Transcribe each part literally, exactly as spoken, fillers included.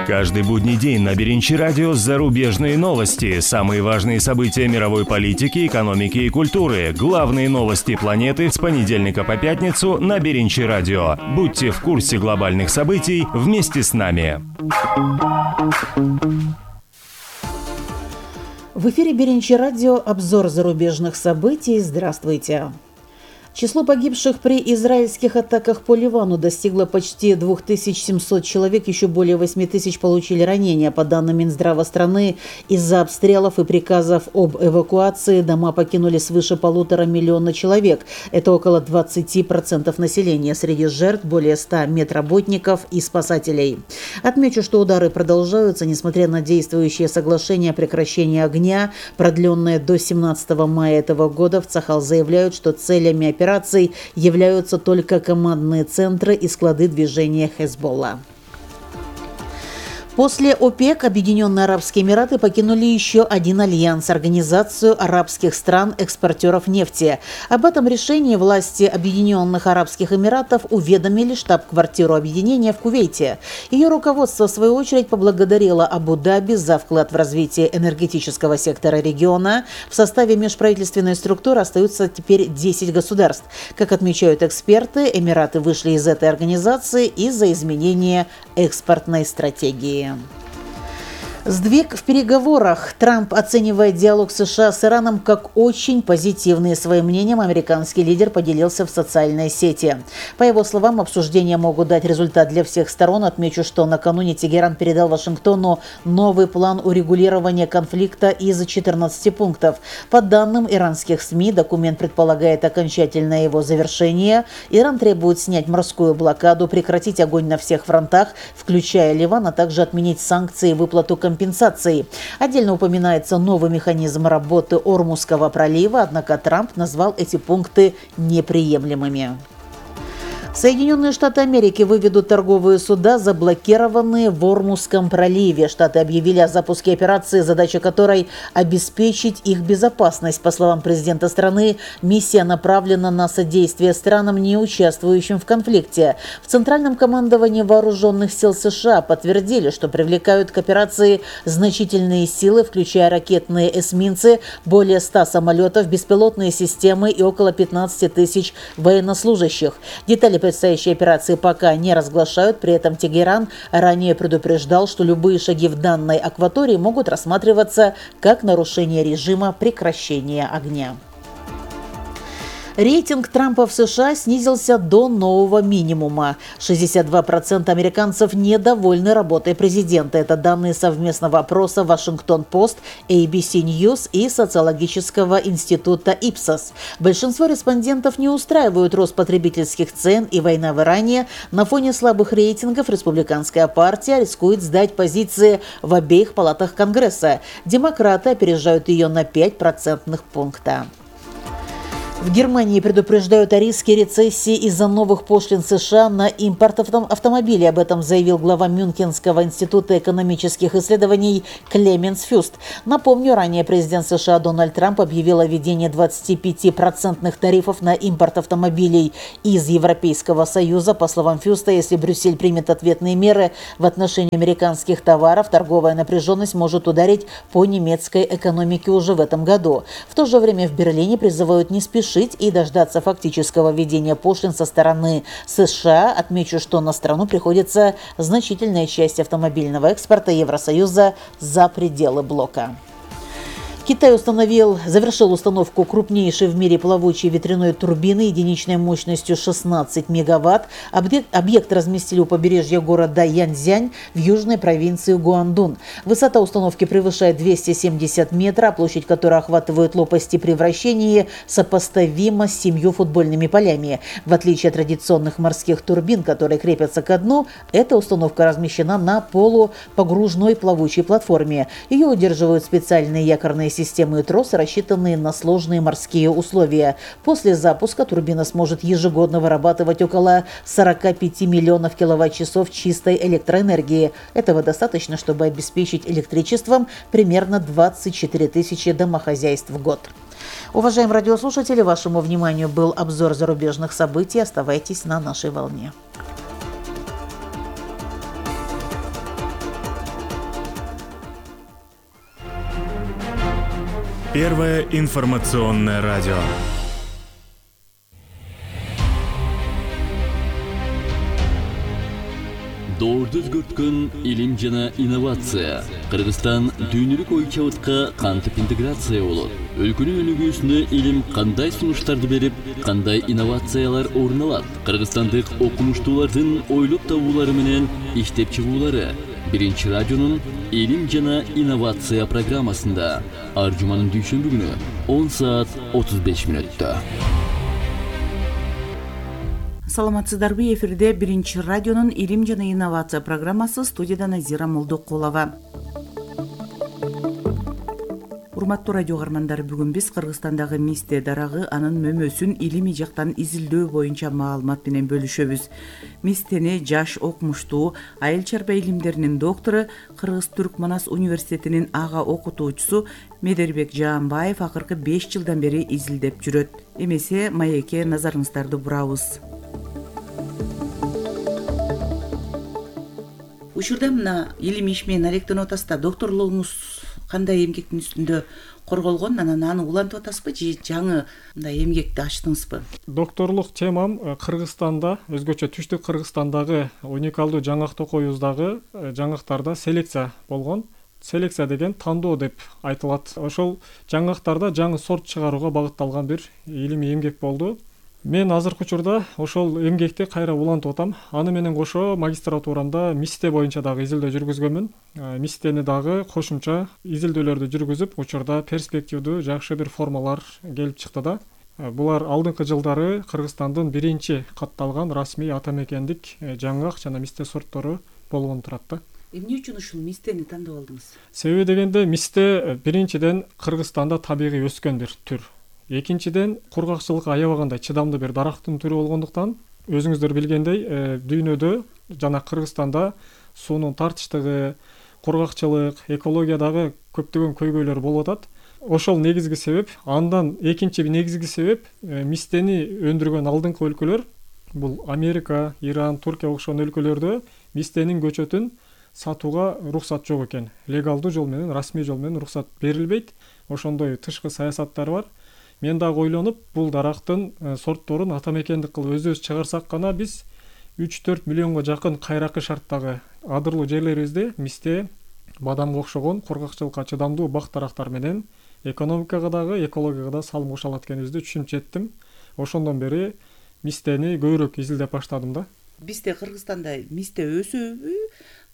Каждый будний день на Беренчи радио зарубежные новости, самые важные события мировой политики, экономики и культуры, главные новости планеты с понедельника по пятницу на Беренчи радио. Будьте в курсе глобальных событий вместе с нами. В эфире Беренчи радио обзор зарубежных событий. Здравствуйте. Число погибших при израильских атаках по Ливану достигло почти две тысячи семьсот человек, еще более восемь тысяч получили ранения. По данным Минздрава страны, из-за обстрелов и приказов об эвакуации дома покинули свыше полутора миллиона человек. Это около двадцать процентов населения. Среди жертв более ста медработников и спасателей. Отмечу, что удары продолжаются, несмотря на действующее соглашение о прекращении огня, продленное до семнадцатого мая этого года. В Цахал заявляют, что целями операции Операций являются только командные центры и склады движения Хезболла. После ОПЕК Объединенные Арабские Эмираты покинули еще один альянс – Организацию арабских стран-экспортеров нефти. Об этом решении власти Объединенных Арабских Эмиратов уведомили штаб-квартиру объединения в Кувейте. Ее руководство, в свою очередь, поблагодарило Абу-Даби за вклад в развитие энергетического сектора региона. В составе межправительственной структуры остаются теперь десять государств. Как отмечают эксперты, Эмираты вышли из этой организации из-за изменения экспортной стратегии. Сдвиг в переговорах. Трамп оценивает диалог США с Ираном как очень позитивный. Своим мнением американский лидер поделился в социальной сети. По его словам, обсуждения могут дать результат для всех сторон. Отмечу, что накануне Тегеран передал Вашингтону новый план урегулирования конфликта из четырнадцати пунктов. По данным иранских СМИ, документ предполагает окончательное его завершение. Иран требует снять морскую блокаду, прекратить огонь на всех фронтах, включая Ливан, а также отменить санкции и выплату компенсации. компенсации. Отдельно упоминается новый механизм работы Ормузского пролива, однако Трамп назвал эти пункты неприемлемыми. Соединенные Штаты Америки выведут торговые суда, заблокированные в Ормузском проливе. Штаты объявили о запуске операции, задача которой – обеспечить их безопасность. По словам президента страны, миссия направлена на содействие странам, не участвующим в конфликте. В Центральном командовании вооруженных сил США подтвердили, что привлекают к операции значительные силы, включая ракетные эсминцы, более ста самолетов, беспилотные системы и около пятнадцати тысяч военнослужащих. Детали предстоящей операции пока не разглашают. При этом Тегеран ранее предупреждал, что любые шаги в данной акватории могут рассматриваться как нарушение режима прекращения огня. Рейтинг Трампа в США снизился до нового минимума. шестьдесят два процента американцев недовольны работой президента. Это данные совместного опроса Вашингтон-Пост, эй би си News и социологического института Ипсос. Большинство респондентов не устраивают рост потребительских цен и война в Иране. На фоне слабых рейтингов республиканская партия рискует сдать позиции в обеих палатах Конгресса. Демократы опережают ее на пять процентных пункта. В Германии предупреждают о риске рецессии из-за новых пошлин США на импорт автомобилей. Об этом заявил глава Мюнхенского института экономических исследований Клеменс Фюст. Напомню, ранее президент США Дональд Трамп объявил о введении двадцатипятипроцентных тарифов на импорт автомобилей из Европейского Союза. По словам Фюста, если Брюссель примет ответные меры в отношении американских товаров, торговая напряженность может ударить по немецкой экономике уже в этом году. В то же время в Берлине призывают не спешить и дождаться фактического введения пошлин со стороны США. Отмечу, что на страну приходится значительная часть автомобильного экспорта Евросоюза за пределы блока. Китай установил, завершил установку крупнейшей в мире плавучей ветряной турбины единичной мощностью шестнадцать мегаватт. Объект, объект разместили у побережья города Янцзянь в южной провинции Гуандун. Высота установки превышает двести семьдесят метров, а площадь, которая охватывает лопасти при вращении, сопоставима с семью футбольными полями. В отличие от традиционных морских турбин, которые крепятся ко дну, эта установка размещена на полупогружной плавучей платформе. Ее удерживают специальные якорные системы и тросы, рассчитанные на сложные морские условия. После запуска турбина сможет ежегодно вырабатывать около сорока пяти миллионов киловатт-часов чистой электроэнергии. Этого достаточно, чтобы обеспечить электричеством примерно двадцать четыре тысячи домохозяйств в год. Уважаемые радиослушатели, вашему вниманию был обзор зарубежных событий. Оставайтесь на нашей волне. Первое информационное радио. Доорду өзгөрткөн илим жана инновация. Кыргызстан дүйнөлүк ой чабытка кантип интеграция болот? Өлкөнүн өнүгүүсүнө илим кандай сунуштарды берип, кандай инновациялар орун алат? Кыргызстандык окумуштуулардын ойлоп табуулары менен иштеп чыгуулары. Биринчи радионун илим жана инновация программасында ар жуманын дүйшөмбү күнү он саат отуз беш мүнөттө. Саламатсыздарбы, эфирде Биринчи радионун илим жана инновация программасы, студияда Назира Молдокулова. Урматтуу радио каармандар, бүгүн биз Кыргызстандагы мисте дарагы, анын мөмөсүн илимий жактан изилдөө боюнча маалымат менен бөлүшөбүз. Мистени жаш окумуштуу, айыл чарба илимдеринин доктору, Кыргыз-Түрк Манас университетинин ага окутуучусу Медербек Жаанбаев акыркы беш жылдан бери изилдеп жүрөт. Эмесе маекке назарыңыздарды бурабыз. Учурда мына илим иш менен алектенип атасызда, докторлугуңуз кандай эмгектин үстүндө корголгон, анан аны улантып атасызбы же жаңы мындай эмгекти ачтыңызбы? Докторлук темам Кыргызстанда, өзгөчө түштүк Кыргызстандагы уникалдуу жаңак токоюбуздагы жаңактарда селекция болгон. Селекция деген тандоо деп айтылат. Ошол жаңактарда жаңы сорт чыгарууга багытталган бир илимий эмгек болду. Мен азыркы учурда ошол эмгекти кайра улантып атам. Аны менен кошо магистратурамда мисте боюнча дагы изилдөө жүргүзгөнмүн. Мистени дагы кошумча изилдөөлөрдү жүргүзүп, учурда перспективдүү жакшы бир формалар келип чыкты да. Булар алдыңкы жылдары Кыргызстандын биринчи катталган расмий ата мекендик жаңак жана мисте сорттору болгон турат да. Эмне үчүн ушул мистени тандап алдыңыз? Себеби дегенде мисте биринчиден Кыргызстанда табигый өскөн бир түр. Экинчиден кургакчылыкка аябагандай чыдамдуу бир дарактын түрү болгондуктан, өзүңүздөр билгендей, дүйнөдө жана Кыргызстанда суунун тартычтыгы, кургакчылык, экологиядагы көптөгөн көйгөйлөр болуп атат. Ошол негизги себеп. Андан экинчи негизги себеп мистени өндүргөн алдыңкы өлкөлөр, бул Америка, Иран, Туркия окшогон өлкөлөрдө мистенин көчөтүн сатууга уруксат жок экен. Легалдуу жол менен, расмий жол менен уруксат берилбейт. Ошондой тышкы саясаттар бар. Мен дагы ойлонуп, бул дарактын сортторун ата мекендик кылып өзүбүз чыгарсак гана биз үч төрт миллионго жакын кайракы шарттагы адырлуу жерлерибизде мисте, бадамга окшогон кургакчылыкка чыдамдуу бак дарактар менен экономикага дагы, экологияга да салым кошо алат экенибизди түшүнүп жеттим. Ошондон бери мистени көбүрөөк изилдеп баштадым да. Бизде Кыргызстанда мисте өсөбү?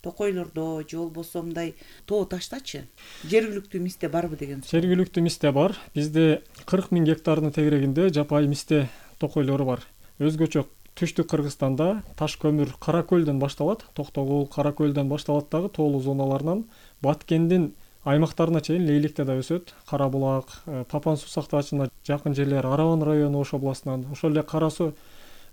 Токойлордо же болбосо мындай тоо таштачы жергиликтүү мисте барбы деген суроо. Жергиликтүү мисте бар. Бизде кырк миң гектардын тегерегинде жапайы мисте токойлору бар. Өзгөчө түштүк Кыргызстанда таш көмүр Кара көлдөн башталат, Токтогул, Кара көлдөн башталат дагы тоолуу зоналарынан Баткендин аймактарына чейин лейликте да өсөт. Кара булак, Папан суу сактагычына жакын жерлер, Араван району Ош областынан, ошол эле Кара суу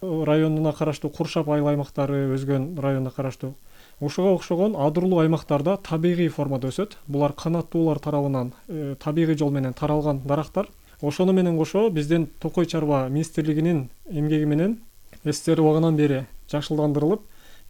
районуна караштуу Куршап айыл аймактары өзгөн районуна караштуу. Ошого окшогон адырлуу аймактарда табигый формада өсөт. Булар канаттуулар тарабынан э, табигый жол менен таралган дарактар. Ошону менен кошо биздин Токой чарба министрлигинин эмгеги менен СССР убагынан бери жакшылдандырылып,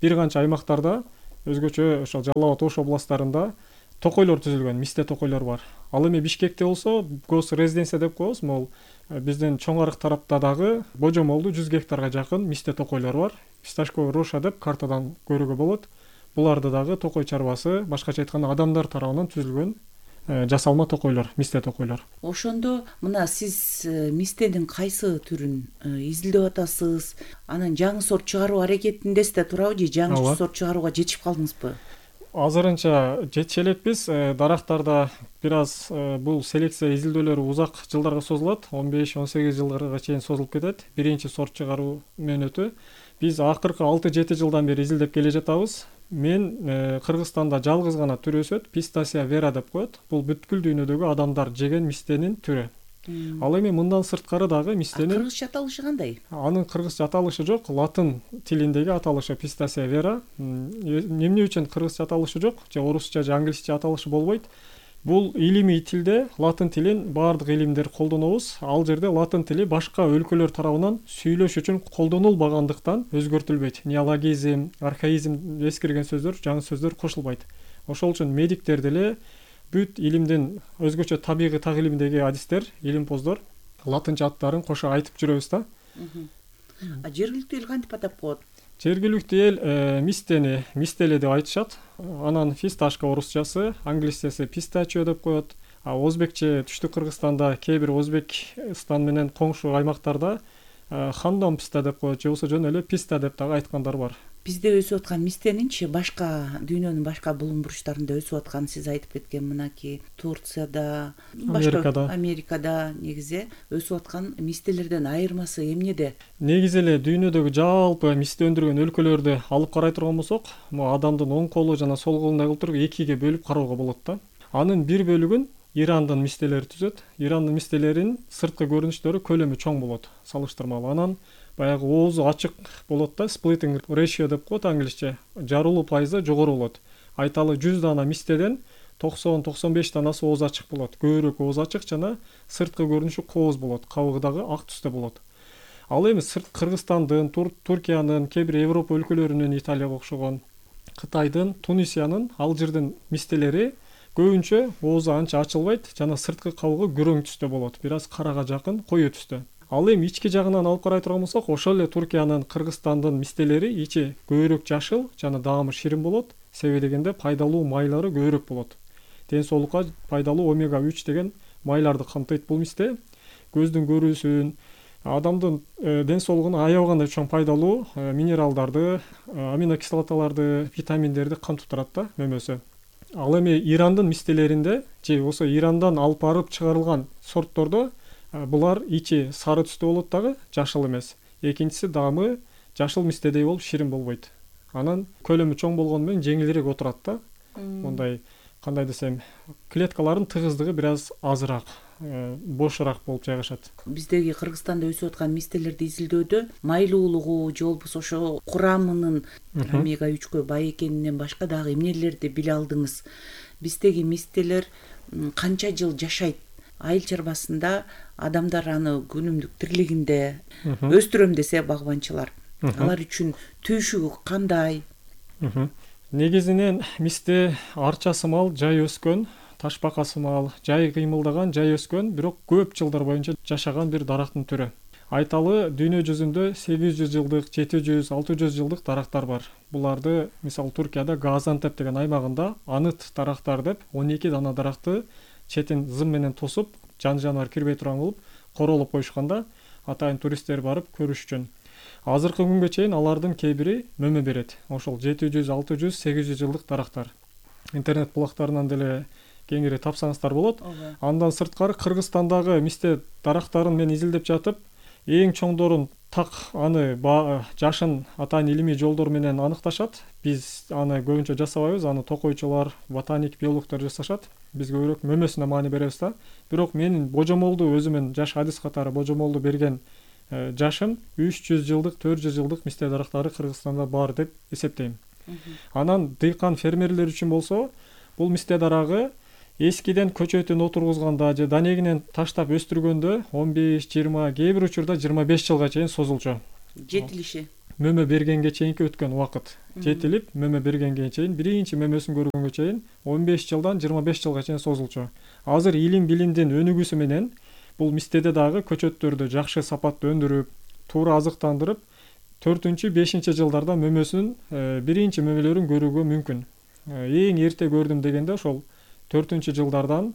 бир канча аймактарда, өзгөчө ошо Жалал абад Ош областарында токойлор түзүлгөн, мисте токойлор бар. Ал эми Бишкекте болсо гос резиденция деп коебуз, могул биздин чоң арык тарапта дагы божомолдуу жүз гектарга жакын мисте токойлор бар. Фисташковый роша деп картадан көрүүгө болот. Буларды дагы Токой чарбасы, башкача айтканда адамдар тарабынан түзүлгөн жасалма токойлор, мисте токойлор. Ошондо мына сиз мистенин кайсы түрүн изилдеп атасыз? Анан жаңы сорт чыгаруу аракетиндесиз да турабы же жаңы сорт чыгарууга жетип калдыңызбы? Азырынча жетише элекпиз. Дарактарда бир аз бул селекция изилдөөлөрү узак жылдарга созулат, он беш он сегиз жылдарга чейин созулуп кетет. Биринчи сорт чыгаруу мөөнөтү. Биз акыркы алты жети жылдан бери изилдеп келе жатабыз. Мен э, Кыргызстанда жалгыз гана түр өсөт, Пистасия vera деп коет. Бул бүткүл дүйнөдөгү адамдар жеген мистенин түрү. Hmm. Ал эми мындан сырткары дагы мистенин кыргызча аталышы кандай? Анын кыргызча аталышы жок, латын тилиндеги аталышы Пистасия vera. Эмне үчүн кыргызча аталышы жок, же орусча же англисче аталышы болбойт? Бул илимий тилде латын тилин баардык илимдер колдонобуз. Ал жерде латын тили башка өлкөлөр тарабынан сүйлөш үчүн колдонулбагандыктан өзгөртүлбөйт. Неологизм, архаизм эскирген сөздөр, жаңы сөздөр кошулбайт. Ошол үчүн медиктер деле бүт илимдин өзгөчө табигый так илимдеги адистер, илимпоздор латынча аттарын кошо айтып жүрөбүз да. А жергиликтүү эл кантип атап коет? Жергиликтүү эл мистени мистеле деп айтышат. Анан фисташка орусчасы, англисчеси пистачио деп коет. А өзбекче түштүк Кыргызстанда кээ бир Өзбекстан менен коңшу аймактарда хандон писта деп коет, же болбосо жөн эле писта деп дагы айткандар бар. Бизде өсүп аткан мистенинчи башка дүйнөнүн башка булуң буручтарында өсүп атканын сиз айтып кеткен мынакей Турцияда, Америкада, Америкада негизи өсүп аткан мистелерден айырмасы эмнеде? Негизи эле дүйнөдөгү жалпы мисте өндүргөн өлкөлөрдү алып карай турган болсок, могу адамдын оң колу жана сол колундай кылып туруп экиге бөлүп кароого болот да. Анын бир бөлүгүн Ирандын мистелери түзөт. Ирандын мистелеринин сырткы көрүнүштөрү көлөмү чоң болот, салыштырмалуу. Анан баягы оозу ачык болот да, splitting ratio деп коет англисче. Жарылуу пайызы жогору болот. Айталы жүз дана мистеден токсон токсон беш данасы ооз ачык болот. Көбүрөөк ооз ачык жана сырткы көрүнүшү кооз болот, кабыгы дагы ак түстө болот. Ал эми сырт Кыргызстандын, Туркиянын, кээ бир Европа өлкөлөрүнүн, Италияга окшогон, Кытайдын, Тунисиянын, Алжирдин мистелери көбүнчө оозу анча ачылбайт жана сырткы кабыгы күрөң түстө болот, бир аз карага жакын коюу түстө. Ал эми ички жагынан алып карай турган болсок, ошол эле Туркиянын, Кыргызстандын мистелери ичи көбүрөөк жашыл жана даамы ширин болот, себеби дегенде пайдалуу майлары көбүрөөк болот. Ден соолукка пайдалуу омега үч деген майларды камтыйт бул мисте. Көздүн көрүүсүн, адамдын ден соолугуна аябагандай чоң пайдалуу минералдарды, аминокислоталарды, витаминдерди камтып турат да мөмөсү. Ал эми Ирандын мистелеринде же болсо Ирандан алып барып чыгарылган сорттордо булар ичи сары түстө болот дагы, жашыл эмес. Экинчиси даамы жашыл мистедей болуп ширин болбойт. Анан көлөмү чоң болгону менен жеңилирээк отурат да. Мондай кандай десем, клеткалардын тыгыздыгы бир аз азыраак, бошураак болуп жайгашат. Биздеги Кыргызстанда өсүп аткан мистелерди изилдөөдө майлуулугу же болбосо ошо курамынын омега үчкө бай экенинен башка дагы эмнелерди биле алдыңыз? Биздеги мистелер канча жыл жашайт? Айыл чарбасында адамдар аны күнүмдүк тирлигинде өстүрөм десе багбанчылар, алар үчүн түйшүгү кандай? Негизинен мисте арча сымал жай өскөн, ташбака сымал жай кыймылдаган, жай өскөн, бирок көп жылдар боюнча жашаган бир дарактын түрү. Айталы дүйнө жүзүндө сегиз жүз жылдык, жети жүз, алты жүз жылдык дарактар бар. Буларды мисалы Туркияда Газантеп деген аймагында аныт дарактар деп он эки дана даракты четин зым менен тосуп, жан жаныбар кирбей турган кылып королоп коюшканда атайын туристтер барып көрүш үчүн. Азыркы күнгө чейин алардын кээ бири мөмө берет. Ошол жети жүз, алты жүз, сегиз жүз жылдык дарактар. Интернет булактарынан деле кеңири тапсаңыздар болот. Андан сырткары Кыргызстандагы мисте дарактарын мен изилдеп жатып, эң чоңдорун так аны жашын атайын илимий жолдор менен аныкташат. Биз аны көбүнчө жасабайбыз, аны токойчулар, ботаник, биологдор жасашат. Биз көбүрөөк мөмөсүнө маани беребиз да. Бирок менин божомолду өзүмүн жаш адис катары божомолду берген жашым үч жүз жылдык, төрт жүз жылдык мисте дарактары Кыргызстанда бар деп эсептейм. Анан дыйкан фермерлер үчүн болсо, бул мисте дарагы эскиден көчөтүн отургузганда же данегинен таштап өстүргөндө он беш, жыйырма, кээ бир учурда жыйырма беш жылга чейин созулчу. Жетилиши. Мөмө бергенге чейинки өткөн убакыт. Жетилип, мөмө бергенге чейин, биринчи мөмөсүн көргөнгө чейин он беш жылдан жыйырма беш жылга чейин созулчу. Азыр илим билимдин өнүгүүсү менен бул мистеде дагы көчөттөрдү жакшы сапатта өндүрүп, туура азыктандырып, төртүнчү, бешинчи жылдарда мөмөсүн биринчи мөмөлөрүн көрүүгө мүмкүн. Эң эрте көрдүм дегенде ошол төртүнчү жылдардан,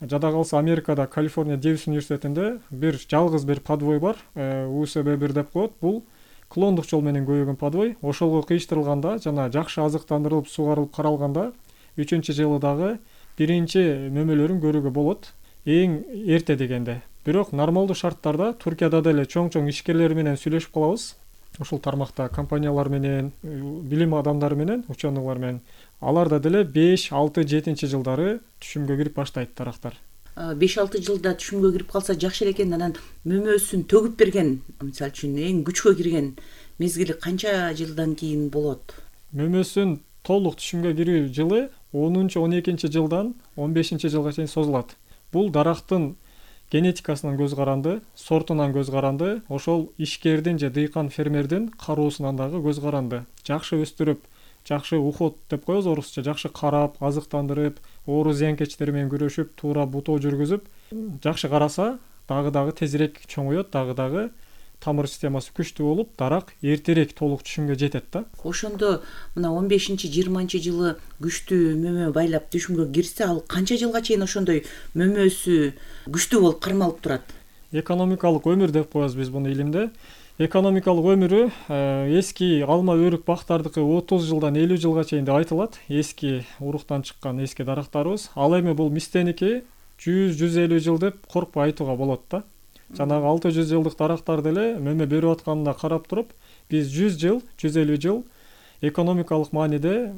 жада калса Америкада, Калифорния Дэвис университетинде бир жалгыз бир подвой бар, У С Б бир деп коет. Бул клондук жол менен көбөйгөн подвой. Ошолго кыйыштырылганда жана жакшы азыктандырылып, сугарылып каралганда үчүнчү жылы дагы биринчи мөмөлөрүн көрүүгө болот. Эң эрте дегенде. Бирок нормалдуу шарттарда Туркияда деле чоң-чоң ишкерлер менен сүйлөшүп калабыз. Ошол тармакта компаниялар менен, билим адамдары менен, ученыйлар менен. Аларда деле беш, алты, жетинчи жылдары түшүмгө кирип баштайт дарактар. беш алты жылда түшүмгө кирип калса жакшы эле экен. Анан мөмөсүн төгүп берген, мисалы үчүн эң күчкө кирген мезгили канча жылдан кийин болот? Мөмөсүн толук түшүмгө кирүү жылы онунчу, он экинчи жылдан он бешинчи жылга чейин созулат. Бул дарактын генетикасынан көз каранды, сортунан көз каранды, ошол ишкердин же дыйкан фермердин кароосунан дагы көз каранды. Жакшы өстүрүп, жакшы уход деп коебуз орусча, жакшы карап, азыктандырып, оору зыянкечтер менен күрөшүп, туура бутоо жүргүзүп, жакшы караса, дагы дагы тезирээк чоңоет, дагы дагы тамыр системасы күчтүү болуп, дарак эртерээк толук түшүмгө жетет да. Ошондо мына он бешинчи жыйырманчы жылы күчтүү мөмө байлап түшүмгө кирсе, ал канча жылга чейин ошондой мөмөсү күчтүү болуп кармалып турат? Экономикалык өмүр деп коебуз биз буну илимде. Экономикалык өмүрү эски алма өрүк бактардыкы отуз жылдан элүү жылга чейин деп айтылат. Эски уруктан чыккан эски дарактарыбыз. Ал эми бул мистеники жүз жүз элүү жыл деп коркпой айтууга болот да. Жанагы алты жүз жылдык дарактар деле мөмө берип атканына карап туруп, биз жүз жыл, жүз элүү жыл экономикалык мааниде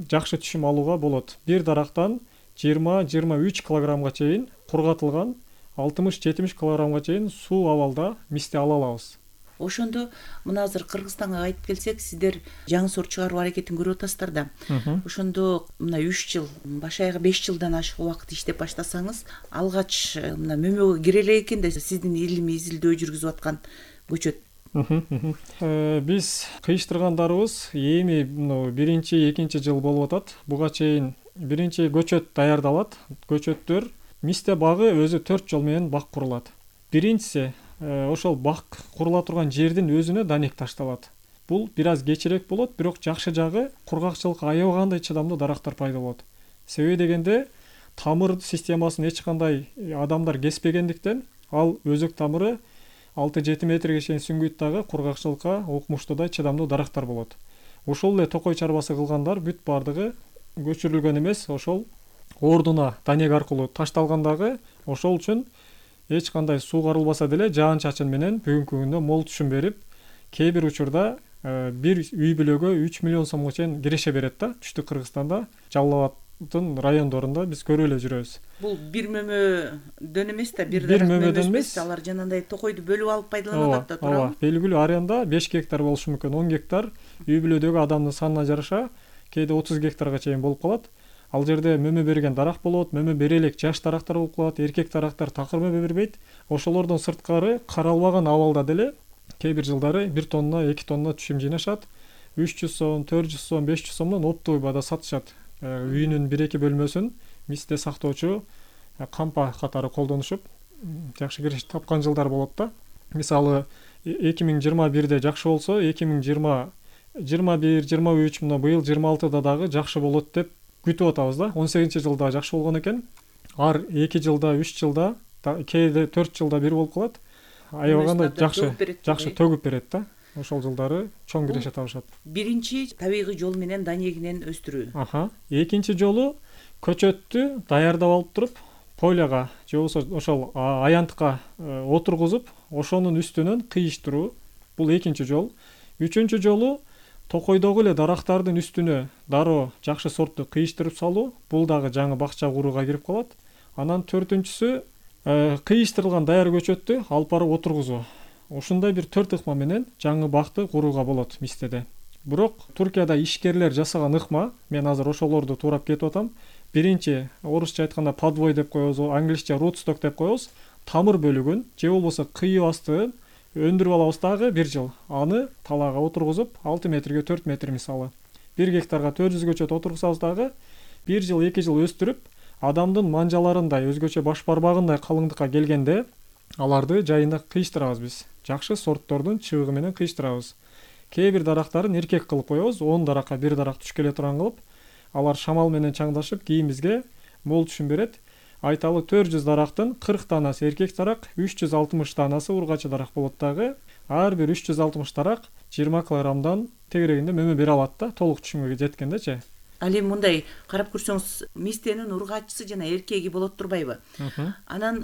жакшы түшүм алууга болот. Бир дарактан жыйырма жыйырма үч килограммга чейин кургатылган алтымыш жетимиш килограммга чейин суу абалда мисте ала алабыз. Ошондо мына азыр Кыргызстанга кайтып келсек, сиздер жаңы сорт чыгаруу аракетин көрүп атасыздар да. Ошондо мына үч жыл, баш аягы беш жылдан ашык убакыт иштеп баштасаңыз, алгач мына мөмөгө кире эле экен да сиздин илимий изилдөө жүргүзүп аткан көчөт. Биз кыйыштыргандарыбыз эми биринчи, экинчи жыл болуп атат. Буга чейин биринчи көчөт даярдалат. Көчөттөр мисте багы өзү төрт жол менен бак курулат. Биринчиси ошол бак курула турган жердин өзүнө данек ташталат. Бул бир аз кечирээк болот, бирок жакшы жагы кургакчылыкка аябагандай чыдамдуу дарактар пайда болот. Себеби дегенде тамыр системасын эч кандай адамдар кеспегендиктен, ал өзөк тамыры алты жети метрге чейин сүңгүйт дагы кургакчылыкка окмуштуудай чыдамдуу дарактар болот. Ошол эле токой чарбасы кылгандар бүт бардыгы көчүрүлгөн эмес, ошол ордуна данек аркылуу ташталгандагы, ошол үчүн эч кандай суу карылбаса деле жаан чачын менен бүгүнкү күндө мол түшүм берип, кээ бир учурда бир үй бүлөгө үч миллион сомго чейин киреше берет да. Түштүк Кыргызстанда, Жалал абаддын райондорунда биз көрүп эле жүрөбүз. Бул бир мөмөдөн эмес да, бир мөмөдөн эмес, алар жанагындай токойду бөлүп алып пайдаланып атат да, туурабы? Белгилүү аренда беш гектар болушу мүмкүн, он гектар үй бүлөдөгү адамдын санына жараша кээде отуз гектарга чейин болуп калат. Ал жерде мөмө берген дарак болот, мөмө бере элек жаш дарактар болуп калат, эркек дарактар такыр мөмө бербейт. Ошолордон сырткары каралбаган абалда деле кээ бир жылдары бир тонна, эки тонна түшүм жыйнашат. үч жүз сом, төрт жүз сом, беш жүз сомдон оптовый баада сатышат. Үйүнүн бир эки бөлмөсүн мисте сактоочу кампа катары колдонушуп, жакшы кириш тапкан жылдар болот да. Мисалы эки миң жыйырма бирде жакшы болсо, эки миң жыйырма бир, жыйырма үч, мына быйыл жыйырма алтыда дагы жакшы болот деп күтүп атабыз да. он сегизинчи жылда жакшы болгон экен. Ар эки жылда, үч жылда, кээде төрт жылда бир болуп калат. Аябагандай жакшы, жакшы төгүп берет да. Ошол жылдары чоң киреше табышат. Биринчи табигый жол менен данегинен өстүрүү. Аха. Экинчи жолу көчөттү даярдап алып туруп, поляга же болбосо ошол аянтка отургузуп, ошонун үстүнөн кыйыштыруу. Бул экинчи жол. Үчүнчү жолу токойдогу эле дарактардын үстүнө дароо жакшы сортту кыйыштырып салуу. Бул дагы жаңы бакча курууга кирип калат. Анан төртүнчүсү кыйыштырылган даяр көчөттү алып барып отургузуу. Ушундай бир төрт ыкма менен жаңы бакты курууга болот мистеде. Бирок Туркияда ишкерлер жасаган ыкма, мен азыр ошолорду туурап кетип атам. Биринчи, орусча айтканда подвой деп коебуз, англисче rootstock деп коебуз. Тамыр бөлүгүн же болбосо кыйып астын өндүрүп алабыз дагы бир жыл. Аны талаага отургузуп, алты метрге төрт метр мисалы. бир гектарга төрт жүз көчөт отургузабыз дагы бир жыл, эки жыл өстүрүп, адамдын манжаларындай, өзгөчө баш бармагындай калыңдыкка келгенде аларды жайында кыйыштырабыз биз. Жакшы сорттордун чыбыгы менен кыйыштырабыз. Кээ бир дарактарын эркек кылып коебуз, он даракка бир дарак түшкөлө турган кылып, алар шамал менен чаңдашып, кийин бизге мол түшүм берет. Айталы төрт жүз дарактын кырк таанасы эркек дарак, үч жүз алтымыш таанасы ургачы дарак болот дагы. Ар бир үч жүз алтымыш дарак жыйырма килограммдан тегерегинде мөмө бере алат да, толук түшүмгө жеткендечи. Ал эми мындай карап көрсөңүз, мистенин ургачысы жана эркеги болот турбайбы? Анан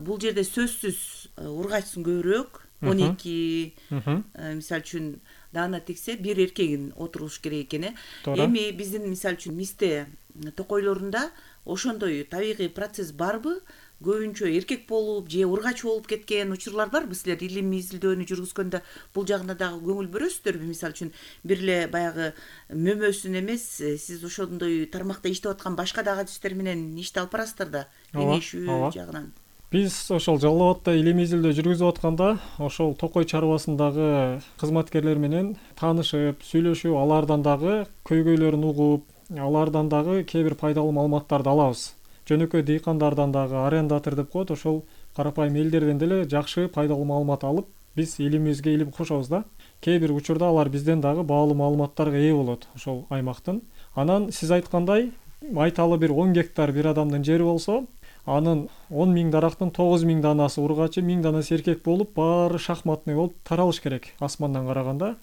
бул жерде сөзсүз ургачысын көбүрөөк, он эки, мисалы үчүн даана тексе бир эркегин отуруш керек экен. Эми биздин мисалы үчүн мисте токойлорунда ошондой табигый процесс барбы? Көбүнчө эркек болуп же ургач болуп кеткен учурлар барбы? Силер илимий изилдөөнү жүргүзгөндө бул жагына дагы көңүл бөрөсүздөрбү? Мисалы үчүн бир эле баягы мөмөсүн эмес, сиз ошондой тармакта иштеп аткан башка дагы адистер менен ишти алып барасыздар да, кеңешүү жагынан. Биз ошол Жалал Абадта илимий изилдөө жүргүзүп атканда ошол токой чарбасындагы кызматкерлер менен таанышып, сүйлөшүп, алардан дагы көйгөйлөрүн угуп, алардан дагы кээ бир пайдалуу маалыматтарды алабыз. Жөнөкөй дыйкандардан дагы, арендатор деп коет, ошол карапайым элдерден деле жакшы пайдалуу маалымат алып, биз илимибизге илим кошобуз да. Кээ бир учурда алар бизден дагы баалуу маалыматтарга ээ болот ошол аймактын. Анан сиз айткандай, айталы бир он гектар бир адамдын жери болсо, анын он миң дарактын тогуз миң данасы ургачы, миң данасы эркек болуп, баары шахматный болуп таралыш керек асмандан караганда.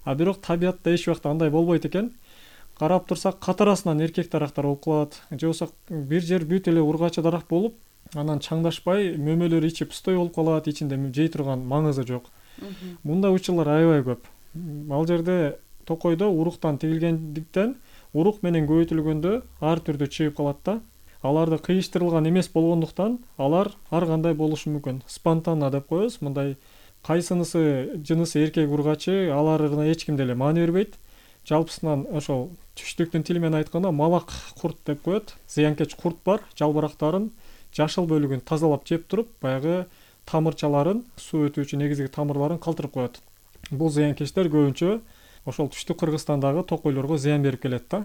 А бирок табиятта эч убакта андай болбойт экен. Карап турсак, катарасынан эркек дарактар болуп калат, же болбосо бир жер бүт эле ургачы дарак болуп, анан чаңдашпай мөмөлөр ичи пустой болуп калат, ичинде жей турган маңызы жок. Мындай учурлар аябай көп. Ал жерде токойдо уруктан тигилгендиктен урук менен көбөйтүлгөндө ар түрдүү чыгып калат да. Аларды кыйыштырылган эмес болгондуктан алар ар кандай болушу мүмкүн. Спонтанно деп коебуз. Мындай кайсынысы жынысы эркек ургачы, аларына эч ким деле маани бербейт. Жалпысынан ошол түштүктүн тили менен айтканда малак курт деп коет. Зыянкеч курт бар, жалбырактарын жашыл бөлүгүн тазалап жеп туруп, баягы тамырчаларын, суу өтүүчү негизги тамырларын калтырып коет. Бул зыянкечтер көбүнчө ошол түштүк Кыргызстандагы токойлорго зыян берип келет да.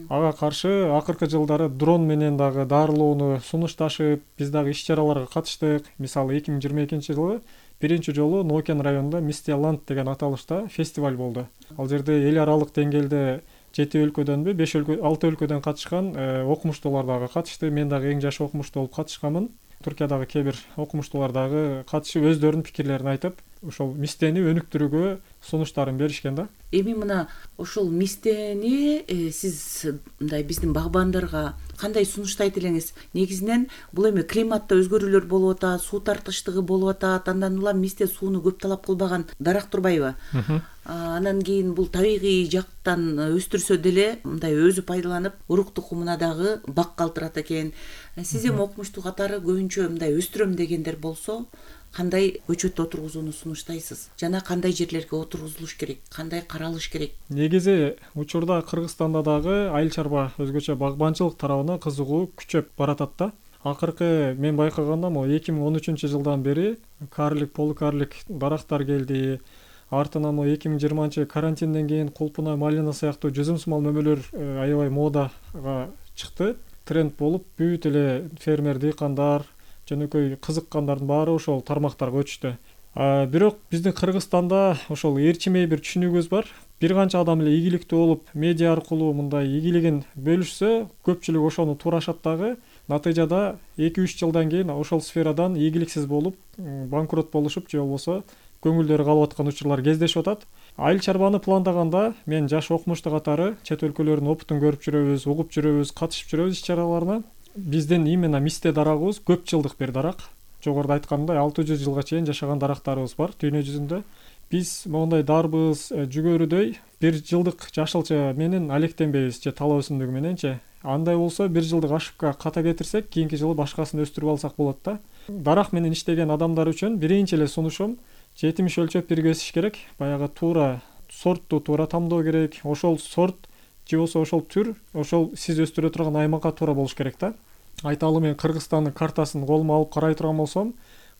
Ага каршы акыркы жылдары дрон менен дагы дарылоону сунушташып, биз дагы иш-чараларга катыштык. Мисалы эки миң жыйырма экинчи жылы биринчи жолу Нокен районунда Мистияланд деген аталышта фестиваль болду. Ал жерде эл аралык деңгээлде жети өлкөдөнбү, беш өлкө, алты өлкөдөн катышкан окумуштуулар дагы катышты. Мен дагы эң жаш окумуштуу болуп катышканмын. Туркиядагы кээ бир окумуштуулар дагы катышып өздөрүнүн пикирлерин айтып, ошол мистени өнүктүрүүгө сунуштарын беришкен да. Эми мына ошол мистени э, сиз мындай биздин багбандарга кандай сунуштайт элеңиз? Негизинен бул эми климатта өзгөрүүлөр болуп атат, суу тартыштыгы болуп атат, андан улам мисте сууну көп талап кылбаган дарак турбайбы? Анан кийин бул табигый жактан өстүрсө деле мындай өзү пайдаланып, урук тукумуна дагы бак калтырат экен. Сиз эми окумуштуу катары көбүнчө мындай өстүрөм дегендер болсо, кандай көчөт отургузууну сунуштайсыз? Жана кандай жерлерге отургузулуш керек? Кандай каралыш керек? Негизи учурда Кыргызстанда дагы айыл чарба, өзгөчө багбанчылык тарабына кызыгуу күчөп баратат да. Акыркы мен байкаганда могу эки миң он үчүнчү жылдан бери карлик, полукарлик дарактар келди. Артынан могу эки миң жыйырманчы карантинден кийин кулпуна, малина сыяктуу жүзүм-сымал мөмөлөр аябай модага чыкты. Тренд болуп, бүт эле фермер, дыйкандар, жөнөкөй кызыккандардын баары ошол тармактарга өтүштү. Бирок биздин Кыргызстанда ошол ээрчимей бир түшүнүгүбүз бар. Бир канча адам эле ийгиликтүү болуп, медиа аркылуу мындай ийгилигин бөлүшсө, көпчүлүк ошону туурашат дагы. Натыйжада эки үч жылдан кийин ошол сферадан ийгиликсиз болуп, банкрот болушуп, же болбосо көңүлдөрү калып аткан учурлар кездешип атат. Айыл чарбаны пландаганда мен жаш окумуштуу катары чет өлкөлөрдүн опытын көрүп жүрөбүз, угуп жүрөбүз, катышып жүрөбүз иш-чараларына. Биздин именно мисте дарагыбыз көп жылдык бир дарак. Жогоруда айтканымдай алты жүз жылга чейин жашаган дарактарыбыз бар дүйнө жүзүндө. Биз моундай дарбыз, жүгөрүдөй бир жылдык жашылча менен алектенбейбиз, же талаа өсүмдүгү мененчи. Андай болсо бир жылдык ошибка ката кетирсек, кийинки жылы башкасын өстүрүп алсак болот да. Дарак менен иштеген адамдар үчүн биринчи эле сунушум жетимиш өлчөп биргесиш керек. Баягы туура сортту туура тамдоо керек. Ошол сорт же болбосо ошол түр, ошол сиз өстүрө турган аймакка туура болуш керек да. Айталы мен Кыргызстандын картасын колума алып карай турган болсом,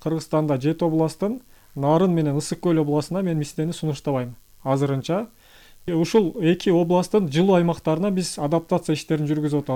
Кыргызстанда жети областтын Нарын менен Ысык көл областына мен мистени сунуштабайм азырынча. Ушул эки областтын жылуу аймактарына биз адаптация иштерин жүргүзүп атабыз.